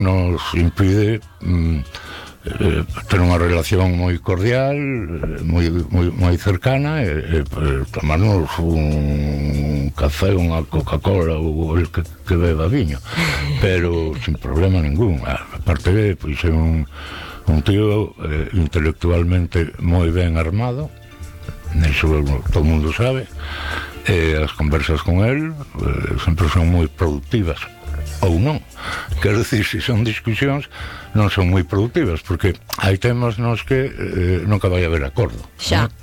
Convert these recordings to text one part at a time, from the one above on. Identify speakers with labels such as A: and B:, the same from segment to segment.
A: nos impide ter unha relación moi cordial, moi cercana, tomarnos un café, unha Coca-Cola ou el que beba viño, pero sin problema ningún. Aparte de, pois, é un tío intelectualmente moi ben armado, eso todo o mundo sabe. As conversas con él sempre son moi productivas, ou non, quero dicir, se son discusións non son moi productivas, porque hai temas nos que nunca vai haber acordo,
B: xa,
A: ¿no?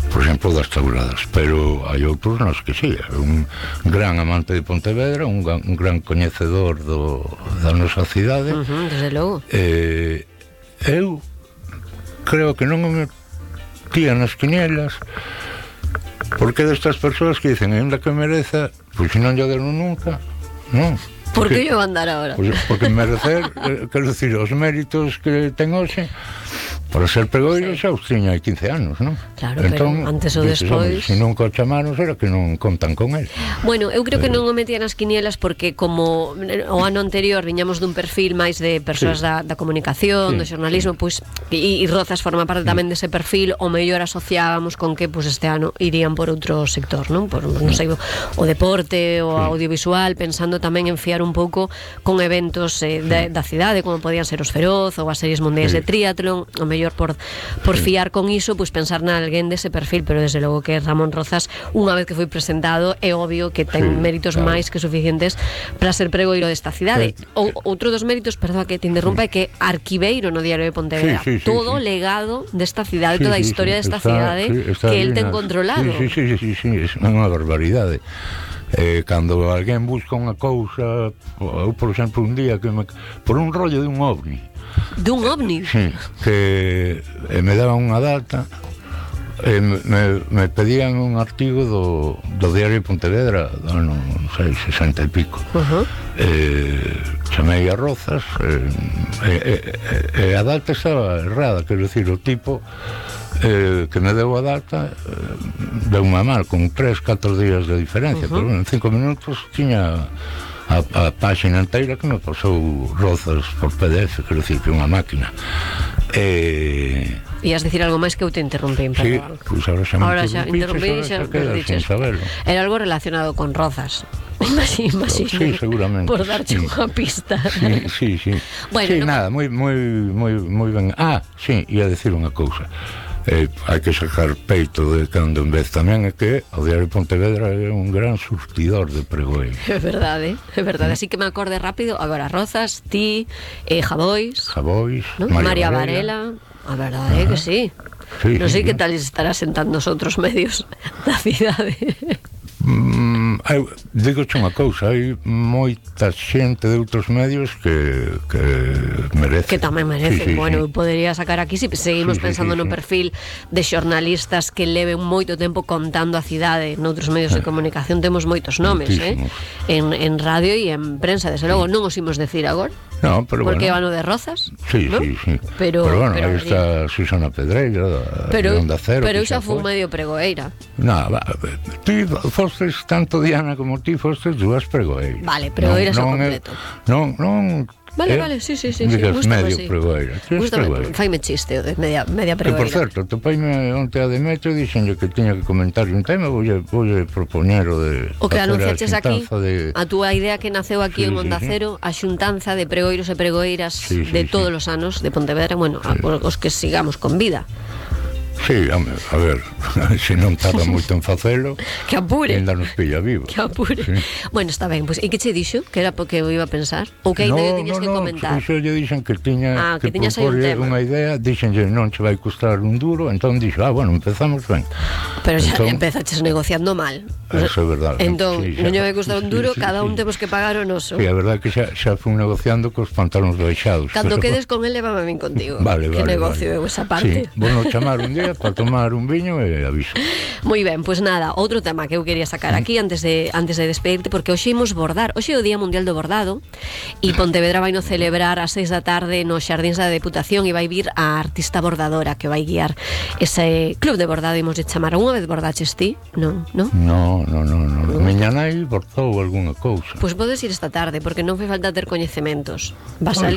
A: Por exemplo, das tauladas, pero hai outros nos que sí. Un gran amante de Pontevedra, un gran coñecedor da nosa cidade.
B: Desde logo.
A: Eu creo que non me metía nas quinielas, porque destas persoas que dicen, ainda que mereza, pois se non lle deron nunca, non.
B: Por que yo andar ahora?
A: Porque merecer, quero dicir, os méritos que ten hoxe para ser pregoiro xa os tiña hai 15 anos, non?
B: Claro, entón, pero antes ou despois,
A: se non o chamaron era que non contan con el.
B: Bueno, eu creo que non o metía nas quinielas porque como o ano anterior viñamos dun perfil máis de persoas da comunicación, do xornalismo, pois, e Rozas forma parte tamén dese perfil, o mellor asociábamos con que pois este ano irían por outro sector, non? Por, non sei, o deporte, o audiovisual, pensando tamén en fiar un pouco con eventos da cidade, como podían ser os Feroz ou as series mundiais de triatlón, o mellor por fiar con iso, pois pensar na alguén dese perfil, pero desde logo que Ramón Rozas, unha vez que foi presentado, é obvio que ten méritos máis que suficientes para ser pregoiro desta cidade. Outro dos méritos, perdón que te interrumpa, é que arquiveiro no Diario de Pontevedra, todo o legado desta cidade, toda a historia desta cidade que el ten controlado.
A: Sí, é unha barbaridade. Cando alguén busca unha cousa, eu, por exemplo, un día que por un rollo de un ovni.
B: Dun ovni?
A: Sí, que me daban unha data, me pedían un artigo do Diario de Pontevedra, non sei, 60 e pico. Chamei a Rozas, e a data estaba errada, quero dicir, o tipo que me deu a data deu unha mal, con 3-4 días de diferencia, pero en 5 minutos tiña a página inteira que me pasou Rozas por PDF, quero dicir, que unha máquina.
B: Ias dicir algo máis que eu te interrumpí,
A: sí, pois ahora xa interrumpí,
B: xa dices. Era algo relacionado con Rozas. Imagino.
A: Sí, seguramente.
B: Por darche unha pista.
A: Sí. Bueno, sí, nada, moi ben. Sí, ia decir unha cousa. Hai que sacar peito de cando en vez tamén é que o Diario de Pontevedra é un gran surtidor de pregoeiros.
B: É verdade. Así que me acorde rápido. Agora, Rozas, ti, Javois, ¿no? María Varela. A verdade é que sí. Non sei que tal estará sentando os outros medios da cidade.
A: Digo-che unha cousa, hai moita xente de outros medios que merece.
B: Que tamén merece. Bueno, podería sacar aquí, se seguimos pensando no perfil de xornalistas que leven moito tempo contando a cidade noutros medios de comunicación, temos moitos nomes, en radio e en prensa, desde logo non os imos decir agora.
A: No, pero
B: porque
A: bueno.
B: Vano de Rozas,
A: sí. Pero bueno, aí está Susana Pedreira de Onda Cero.
B: Pero xa foi medio pregoeira.
A: Ti fostes, tanto Diana como ti fostes dúas pregoeiras.
B: Vale, pregoeiras ao completo.
A: Non.
B: Vale, sí.
A: Digas medio pregoeira.
B: Faime chiste de media pregoeira.
A: Por certo, topaime onte a Demetrio e dixenlle que tiña que comentar un tema, voulle propoñer
B: o que anunciaches aquí, a túa idea que naceu aquí en Onda Cero, a xuntanza de pregoiros e pregoeiras de todos os anos de Pontevedra, bueno, os que sigamos con vida.
A: Sí, a ver, se non tarda moito en facelo,
B: que apure,
A: ainda nos pilla vivo.
B: Que apure. Sí. Bueno, está ben, pues, e que che dixo? Que era porque eu iba a pensar? Ou que ainda tiñas que comentar?
A: No, lle dixen que tiña que propoñer unha idea, dixenlle non che vai custar un duro, entón dixo, bueno, empezamos ben.
B: Pero xa empezaches negociando mal.
A: Eso é verdade.
B: Entón, non lle vai custar un duro, cada un temos que pagar o noso.
A: Sí, a verdade que xa fui negociando cos pantalóns baixados.
B: Cando quedes con ele, lévame a min contigo.
A: Vale.
B: Que negocio eu esa parte.
A: Sí, bueno, chamar un día para tomar un viño e aviso.
B: Moi ben, pois nada, outro tema que eu quería sacar aquí antes de despedirte, porque hoxe imos bordar. Hoxe é o Día Mundial do Bordado e Pontevedra vai no celebrar ás 6 da tarde nos Xardíns da Deputación e vai vir a artista bordadora que vai guiar ese club de bordado, imos de chamar. Unha vez bordaches ti? Non, non?
A: No. Miña nai bordou algunha cousa.
B: Pois podes ir esta tarde, porque non fai falta ter coñecementos. Vas a